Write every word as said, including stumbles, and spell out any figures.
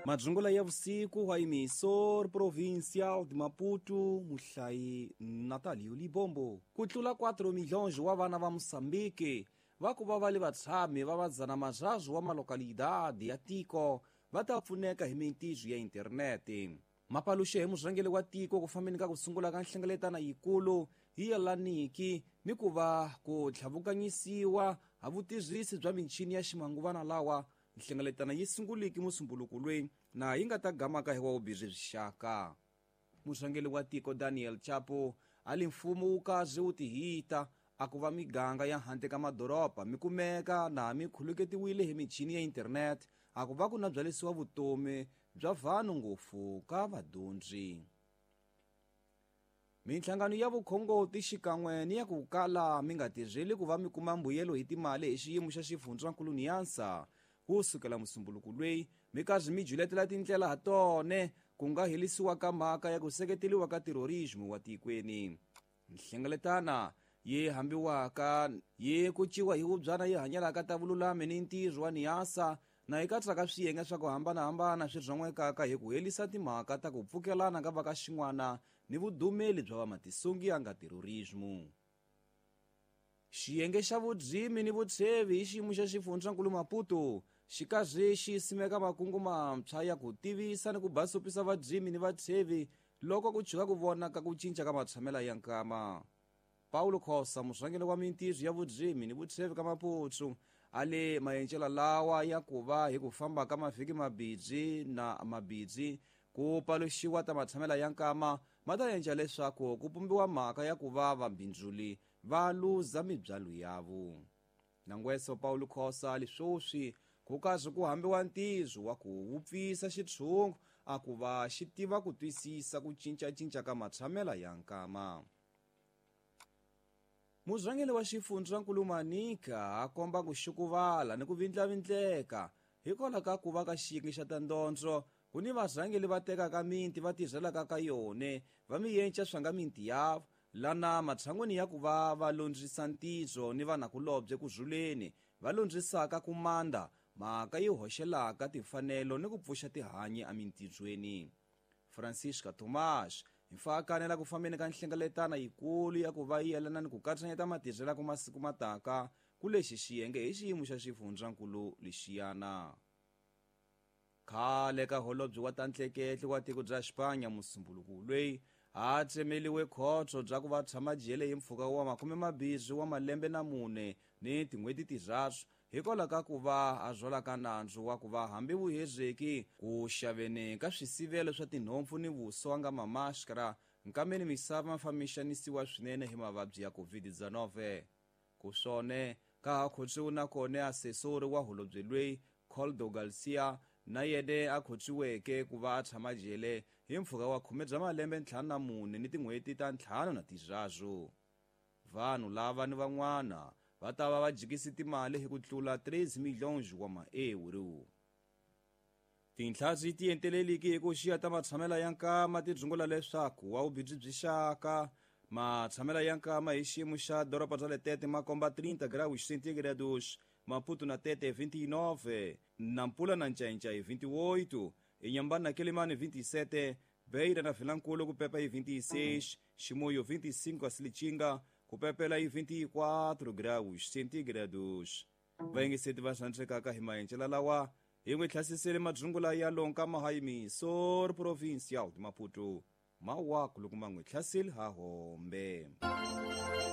Madzungula ya vusiku wa emisor provincial de Maputo, muhlayi Natalio Libombo. Ku tlula quatro milhões wa vana va Moçambique va ku va va le vatshami va vadzana mazazu wa malokalidade ya tiko va ta pfuneka hi mintizo ya internete. Mapaluxe hi murhangeri wa tiko ku fambeni ka ku sungula ka nhlengeletano yikulu hi yelaniki ni ku va ku tlhavukanyisiwa ha vutirhisi bya michini ya ximanguvana lawa. Nhlengeletano yi sunguliki musumbuluko loyi na yi nga ta gamaka hi wa vubirhi byi xaka. Murhangeri wa tiko Daniel Chapo a li mfumo wu kaze wu tihita a ku va miganga ya handle ka madoroba mi kumeka na mi khuluketiwile hi michini ya internet a ku va ku na byalisiwa vutomi bya vanhu ngopfu ka vadyondzi. Minhlangano ya vukhongoti xikan'we ni ya ku kala mi nga tirheli ku va mi kuma mbuyelo hi timali hi xiyimo xa xifundzankulu Niansa ku sukela musumbuluko loyi mi karhi mi juletela tindlela ha tone ku nga herisiwa ka mhaka ya ku seketeriwa ka terrorismo wa tikweni. Nhlengeletana yi hambiwaka yi kuciwa hi vubyana yi hanyelaka ta vululami ni ntirho wa Niasa na yi katsaka swiyenge swa ku hambanahambana swi rhan'wekaka hi ku herisa timhaka ta ku pfukelana ka va ka xin'wana ni vudumeli bya vamatisungi ya nga terrorismo. Xiyenge xa vudzimi ni vutshevi hi xiyimo xa xifundzankulu Maputo xi karhi xi simeka makungu mantshwa ya ku tivisa ni ku basopisa vadzimi ni vatshevi loko ku chuka ku vonaka ku cinca ka matshamela ya nkama. Paulo Khosa, murhangeri wa mintirho ya vudzimi ni vutshevi ka Maputo, a le maendlelo lawa ya ku va hi ku famba ka mavhiki mabidzi na mabidzi ku paluxiwa ta matshamela ya nkama ma ta endla leswaku ku pumbiwa mhaka ya ku va vabindzuli va luza mibyalo yavo. Nangweso Paulo Khosa leswoswi ku karhi ku hambiwa ntirho wa ku wupfisa xitshungu a ku va xi tiva ku twisisa ku cincacinca ka matshamela ya nkama. Murhangeri wa xifundzankulu Manica a komba ku xukuvala ni ku vindlavindleka hikwalaho ka ku va ka xiyenge xa ta ndondzo ku ni varhangeri va tekaka miti va tirhelaka ka yone va mi yenca swa nga miti yavo lana matshan'wini ya ku va va londzisa ntirho ni vanakulobye ku rhuleni va londzisaka ku manda mhaka yi hoxelaka timfanelo ni ku pfuxa tihanyi emintirhweni. Francisca Tomás hi kanela ku fambeni ka nhlengeletano yikulu ya ku va yi yelana ni ku katsanyeta matirhelo ku masiku mataka ku lexi xiyenge hi xiyimo xa xifundzankulu lexiyana. Khale ka holobye wa ta ntleketli wa tiko bya Xipanya musumbuluko loyi a tsemeliwe khotso bya ku va tshama jele hi mpfhuka wa makume mambirhi wa malembe na mune ni tin'hweti tirharhu hikwalaho ka ku va a zwalaka nandzu wa ku va hambi vuhezeki ku xaveni ka swisivelo swa tinhompfu ni vuswa nga mamaskara nkameni misava ma fambixanisiwa swinene hi mavabyi ya COVID nineteen. Ku swone ka ha khotsiwe na kone asesori wa holobye loyi Coldo Garcia na yene a khotsiweke ku va a tshama jele hi mpfhuka wa khume bya malembe ntlhanu na mune ni tin'hweti ta ntlhanu na tirharhu. Vanhu lava ni van'wana va ta va va jikisi timali hi ku tlula treze milhões wa ma-euro. Tinhla ti enteleliki hi ku xiya ta matshamela ya nkama ti dzungula leswaku wa vubindzu byi xaka matshamela ya nkama hi xiyimo xa doroba bya Letete ma komba trinta graus centígrados, Maputo na Tete vinte e nove, Nampula na Ncainca vinte e oito, Inhambane na Quelimane vinte e sete, Beira na Vilankulo ku pepa hi vinte e seis, Chimoio vinte e cinco, a Silitinga ku pepela hi vinte e quatro graus centígrados. Vayingiseti va xandzekaka hi maendlelo lawa hi n'wi hlasisele madzungula ya lonka mahayimisor provincial de Maputo mawaku loko ma n'wi hlaseli ha hombe.